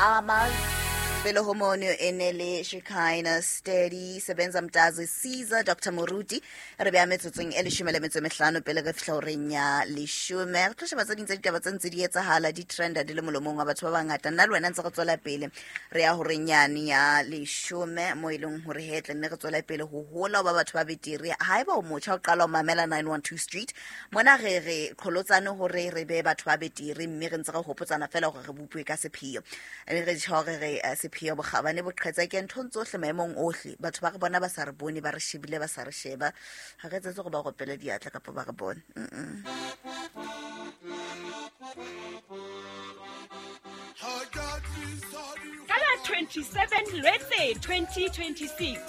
Amas pele ho mono e ne le Shekinah Steady Sebenza Mtazi Caesar Dr Moruti. Re beya metsotsong e 15 pele re fihla horeng ya 10. Re tlo sheba tse ding tsa ditaba tse ntse di etsahala, di trenda, di le molomong wa batho ba bangata. Nna le wena ntse re tswela pele re ya horeng yane ya 10, mo e leng hore he tle nne re tswela pele ho hola ho ba batho ba betere. Haeba o motjha o qala ho mamela 912 Street mona, re re qholotsane hore re be batho ba betere, mme re ntse re hopotsana fela hore re bopuwe ka sepheo. Re tjho hore re sepheo bokgabane boqhetseke nthong tsohle, maemong ohle. Batho ba re bona ba sa re bone, ba re shebile ba sa re sheba, ga re etsetse gore ba gopele diatla kapa ba re bone. Ka la 27 Lwetse 2026,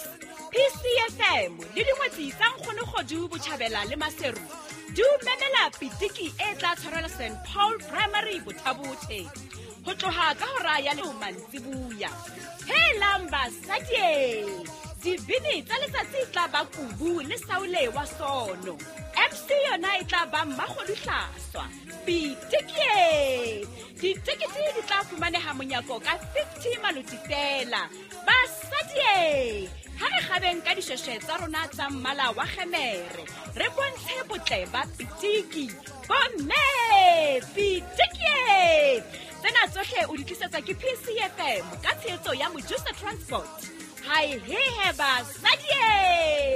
PCFM le dingwetsi tsa Nkgonogodu Botjhabela le Maseru di o memela pitiki e tla tshwarelwa St Paul Primary Bothabothe ho tloha ka hora ya le mantsibuya. Helang basadie, dibini tsa letsatsi e tla ba Kubu le Saule wa Sono, MC yona e tla ba Mmakgoduhlaswa. Pitikie, ditekete di tla fumaneha monyako ka 50 maloti fela. Basadie, ha re kgabeng ka dishweshwe tsa rona tsa mmala wa kgemere, re bontshe botle ba pitiki. Bomme, pitikie! Tsena tsohle o di tlisetswa ke PCFM ka tshehetso ya Mojusa Transport. Hae hehe basadie!